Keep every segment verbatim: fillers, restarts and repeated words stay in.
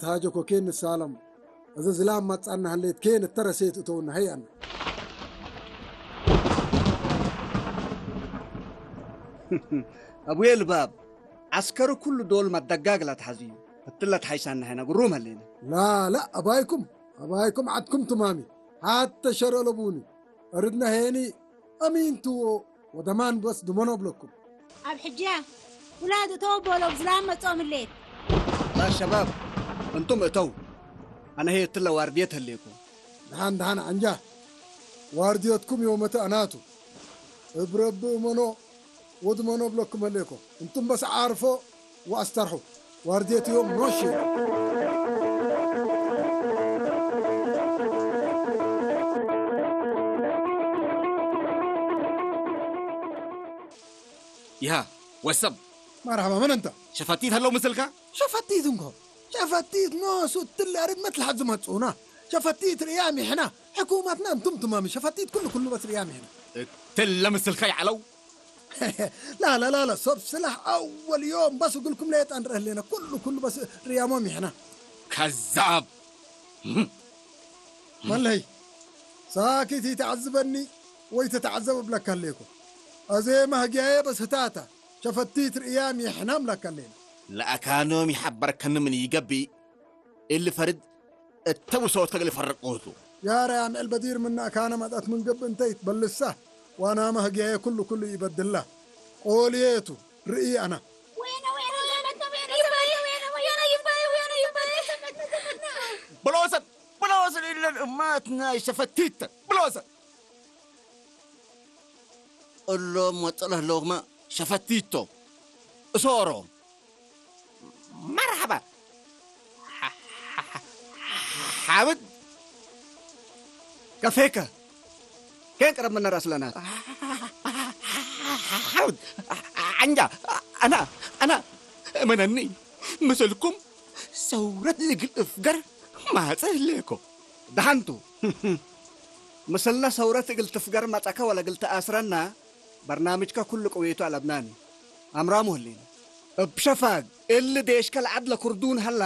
ትሃጀኮ ኬን ንሳለም። እዘ ዝላም መጽአነ ሀሌት ኬን እተ ረሴት እተውነ ሀይ አነ። አቡዬ ልባብ፣ ዐስከሩ ኩሉ ዶል መደጋግ ለትሐዝዩ፣ እትለ ተሐይሳነ ሕነ ግሩም ሀሌነ። ላ፣ ላ፣ አባይኩም፣ አባይኩም ዐድኩም ትማሚ፣ ሐተ ሸር አለቡኒ። አርድነ ሄኒ አሚን ቱ ወደማን በስ ድመኖ እብለኩም። አብ ሕጂ ውላድ እተው ቦሎ እብ ዝላም መጽኦም ህሌት። ላ ሸባብ፣ እንቱም እተው፣ አነ ህዬ እትለ ዋርድየት ህሌኮ። ደሐን ደሐን ዐንጃ፣ ዋርድየትኩም ዮመተ አናቱ። እብ ረቢ እመኖ ወድመኖ እብለኩም ህሌኮ። እንቱም በስ ዓርፎ ወአስተርሑ። ዋርድየት ዮም ኖሼ። ይሃ ወሰብ። መርሐባ፣ መን እንተ? ሸፈቲት ሀለው ምስልካ? ሸፈቲት እንኮ። ሸፈቲት ኖሱ እትለ አርድመት ለሐድ ዝመጽኡና። ሸፈቲት ርእያም ይሕና። ሕኩመትና እንቱም ትማሚ። ሸፈቲት ኩሉ ኩሉ በስ ርእያም ይሕና። እትለ ምስልካ ይዐለው? ላ፣ ላ፣ ላ፣ ላ፣ ሶብ ስላሕ አወል ዮም በስ እግልኩም ሌጠ አንርአ ህሌነ። ኩሉ፣ ኩሉ በስ ርያሞም ይሕና። ከዛብ! መለሀይ፣ ሳኪት ኢተዐዝበኒ ወይ ተተዐዘብ እብለከ ህሌኮ። አዜ መህግያዬ በስ ህታታ፣ ሸፈቲት ርእያም ይሕናም ለከ ህሌነ። ለአካኖም ይሐበርከኒ ምን ኢገብእ፣ እሊ ፈርድ እተ ውሰወትከ እግል ፈርቁቱ። ያ ረያም ኤልበዲር ምነ አካነ መጽአት ምን ገብእ እንተ ኢትበልሳ፣ ዋናመ ህግያዬ ኩሉ ኩሉ ኢበድላ። ቆልዬቱ ርእይ አና። ብሎሰት፣ ብሎሰት እለን እማት ናይ ሸፈቲተ፣ ብሎሰት። እሎም ወጽእ ለህለውክመ ሸፈቲቶ እሶሮ። መርሐባ። ሓምድ፣ ከፌከ ኬን ቅረብ ምነ ረአስ ለናት። ሓምድ፣ አንጃ፣ አና፣ አና፣ እመነኒ፣ ምስልኩም ሰውረት እግል እፍገር ማጸ ህሌኮ። ደሐንቱ፣ ምስልነ ሰውረት እግል ትፍገር መጸከ ወለእግል ተአስረነ በርናምጅከ ኩሉ ቅዌቱ አለብናኒ። አምራሙ ህሌነ። እብ ሸፋግ እሊ ዴሽከ ለዐድ ለክርዱን ሀላ፣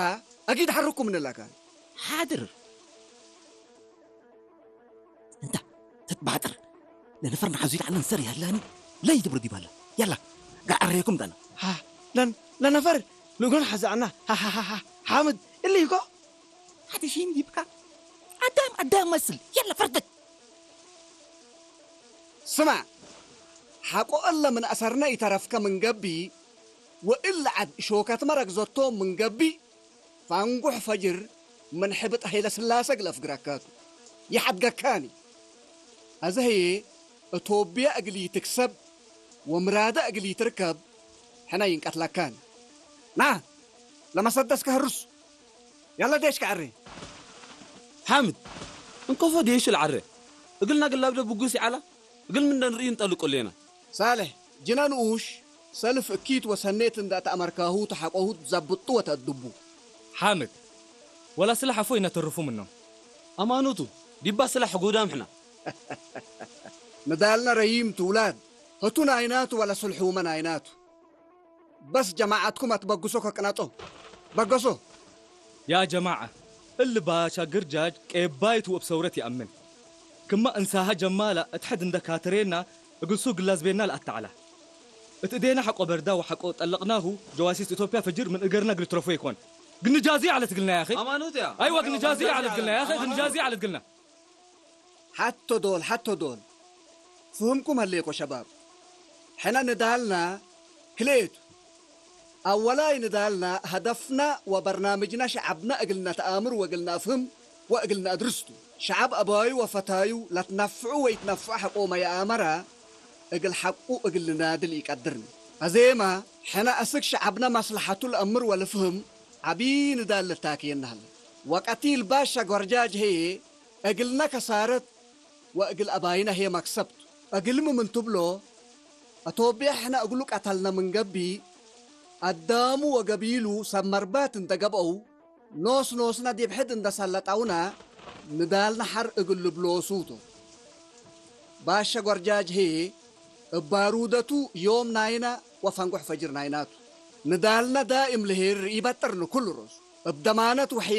አጊድ ሐርኩም እንለካን። ሓድር። እንተ ትትባጥር ለነፈር ነሐዙ ይልዓል እንሰር ያላኒ ለይድብር ዲባለ። ያላ ጋር አሬኩም ጠና። ሃ፣ ለን-፣ ለነፈር ንጎን ሐዛዕና። ሃ፣ ሃ፣ ሃ፣ ሃ። ሓምድ፣ እሊ እኮ ሐቲ ሺን ዲብካ። አዳም፣ አዳም መስል። ያላ ፈርደክ። ስማዕ፣ ሐቆ እለ ምን አሰርነ ኢተረፍከ ምን ገብእ፣ ወእለ ዐድ ሾከትመ ረግዘቶም ምን ገብእ፣ ፋንጉሕ ፈጅር ምን ሕብጥ ሀይለስላሰ እግል አፍግረካቱ። ይሐድገካኒ። አዜ ህዬ እቶብየ እግል ኢትክሰብ ወምራደ እግል ኢትርከብ ሕነ ኢንቀትለካኒ። ና፣ ለመሰደስከ ህርሱ። ያለ ዴሽከ ዐሬ። ሓምድ፣ እንኮፎ ዴሹ ለዐሬ። እግል ናግላብደ ብጉስ ይዐላ። እግል ምን እንርእዩ እንጠልቁ ሌና። ሳልሕ፣ ጅነ ንኡሽ ሰልፍ እኪት ወሰኔት እንደ ተአመርካሁ ተሐቆሁ ትዘብጡ ወተአድቡ። ሓምድ፣ ወላ ስላሕ አፎ ኢነተርፉ ምኖም። አማኑቱ፣ ዲባ ስላሕ ሕጉዳም ሕና። ንዳልነ ረዪም ቱ ውላድ፣ ህቱ ናይናቱ ወለ ስልሑመ ናይናቱ። በስ ጀማዐትኩም አትበግሶ ከቅነጦ። በገሶ። ያ ጀማዐ፣ እሊ ባሻ ግርጃጅ ቄባይቱ ወእብ ሰውረት ይአምን። ክመ እንሳሀ ጀማላ እት ሕድ እንደ ካትሬና እግል ሱግ ግላዝቤና ለአተዐላ። እት እዴና ሐቆ በርዳ ወሐቆ ጠለቅናሁ ጀዋሲስ ኢትዮጵያ ፈጅር ምን እገርና እግል ትረፎ ኢኮን። ግንጃዚ ዐለት እግልና ያኺ። አማኑት ያ። አይወ ግንጃዚ ዐለት እግልና ያኺ፣ ግንጃዚ ዐለት እግልና። ሐቶ ዶል፣ ሐቶ ዶል። ፍህምኩም ሀሌኮ ሸባብ። ሕነ ንዳልና ክልኤቱ። አወላይ ንዳልና ሀደፍና ወበርናምጅና ሸዐብና እግል ነተአምር ወእግል ነአፍህም ወእግል ነአድርስ ቱ። ሸዐብ አባዩ ወፈታዩ ለትነፍዑ ወኢትነፍዑ ሐቆመ ይአመረ እግል ሐቁ እግል ልናድል ኢቀድርኒ። አዜመ፣ ሕነ አስክ ሸዐብና መስለሐቱ ለአምር ወልፍህም ዐቢ ንዳል ልታክየና ሀለ። ወቀቲል ባሻ ጎርጃጅ ህዬ እግልነ ከሳረት ወእግል አባይነ ህዬ መክሰብ ቱ። እግልሚ ምን ትብሎ፣ አቶብየ ሕነ እግሉ ቀተልነ ምን ገብእ፣ አዳሙ ወገቢሉ ሰብ መርባት እንደ ገብአው፣ ኖስ ኖስነ ዲብ ሕድ እንደ ሰለጠውነ፣ ንዳልነ ሐር እግል ልብሎሱ ቱ። ባሸ ጎርጃጅ ህዬ እብ ባሩደቱ ዮም ናይነ ወፈንጎሕ ፈጅር ናይና ቱ። ንዳልነ ዳእም ልሄር ኢበጥርን ኩሉ ሮሱ። እብ ደማነት ወሒል